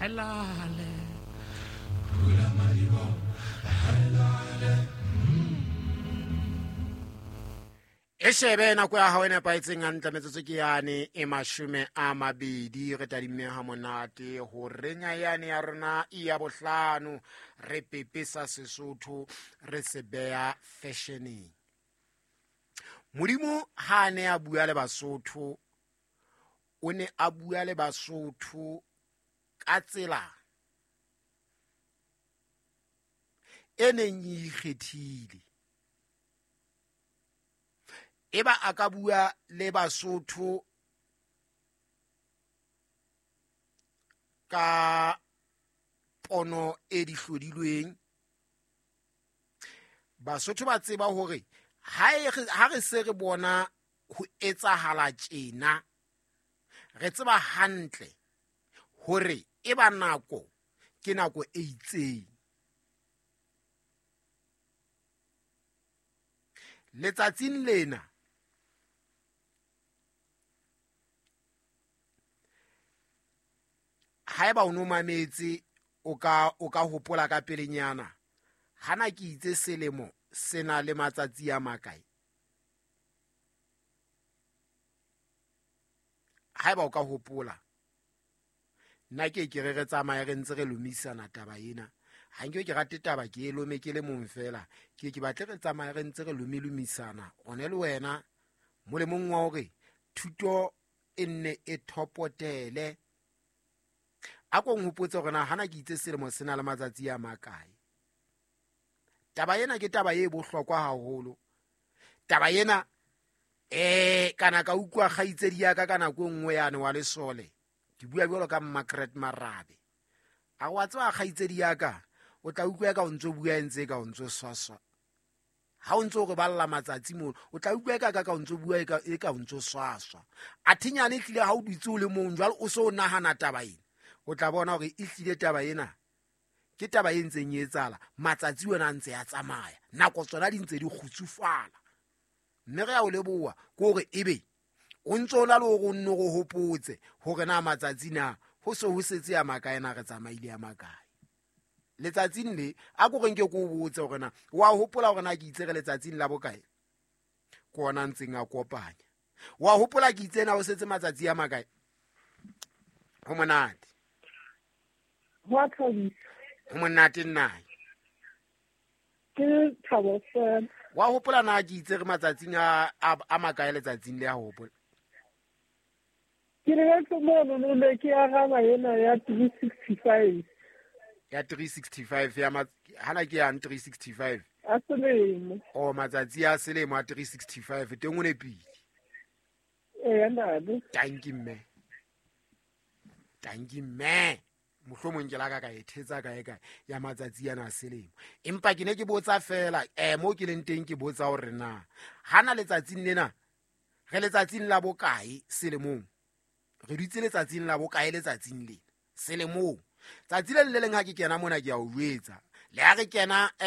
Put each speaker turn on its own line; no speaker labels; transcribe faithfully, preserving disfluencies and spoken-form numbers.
Helale.
E shebe nako ya hao e nepahetseng hantle metsotso ke yane e mashome a mabedi re tadimme ha monate ho renya yane ya rona ya bohlano re pepesa Sesotho re se beha fashioneng. Modimo ha a ne a bua le Basotho, o ne a bua le Basotho ka tsela e neng e ikgethile. Eba a ka bua le Basotho ka pono e di hlodilweng. Basotho ba tseba hore ha e re, ha re se re bona ho etsahala tjena, re tseba hantle hore e ba nako ke nako e itseng. Letsatsing lena haeba o no mametse o ka, o ka hopola ka pelenyana hana ke itse selemo se na le matsatsi a makae. Haeba o ka hopola, nna ke ke re re tsamaye re ntse re lomisana taba ena. Ha nke ke rate taba ke e lome ke le mong fela, ke ke batle re tsamaye re ntse re lomilomisana one le wena molemong wa hore thuto e nne e thopotele. A ko nhopotse hore na hana ke itse selemo se na le matsatsi a makae. Taba ena ke taba e bohlokwa haholo. Taba ena eh kana ka utlwa kgaitsedi ya ka ka nako e nngwe yane wa lesole. Ke bua jwalo ka Margaret Marabe. A wa tseba kgaitsedi ya ka, o tla utlwa ka o ntso bua ntse ka o ntso swaswa. Ha o ntso re balla matsatsi mono, o tla utlwa ka ka ka o ntso bua e ka, e ka o ntso swaswa. A thinyane ehlile ha o dutse o le mong jwale o so o nahana taba ena. O tla bona hore ehlile taba ena ke taba e ntseng e etsahala, matsatsi ona a ntse a tsamaya, nako tsona di ntse di kgutsufala. Mme re a o leboha ke hore ebe o ntso o na le hore o nno re hopotse hore na matsatsi na ho se ho setse a makae, na re tsamaile a makae. Letsatsing le a ko re nke ke o botse hore na wa hopola hore na ke itse re letsatsing la bokae, ke ona a ntseng a kopanya. Wa hopola ke itse na ho setse matsatsi a makae? Ho monate.
Ho a thabisa.
Ho monate nna.
Ke thabo fela.
Wa hopola na ke itse re matsatsing a, a, a makae letsatsing le, a hopola?
Ke lebetse mono, no ne ke araba ena ya three sixty-five.
Ya three sixty-five ya ma-, hana ke yang three sixty-five?
A selemo.
Oh, matsatsi a selemo a three sixty-five, teng o nepile.
Eya, ntate.
Tanki mme. Tanki mme. Mohlomong ke la ka ka e thetsa kae kae ya matsatsi ana a selemo. Empa ke ne ke botsa fela, eh, mo ke leng teng ke botsa hore na hana letsatsing lena re letsatsing la bokae selemong? Re dutse letsatsing la bokae letsatsing lena selemong? Tsatsi le le leng ha ke kena mona ke a o jwetsa. Le ha re kena, eh,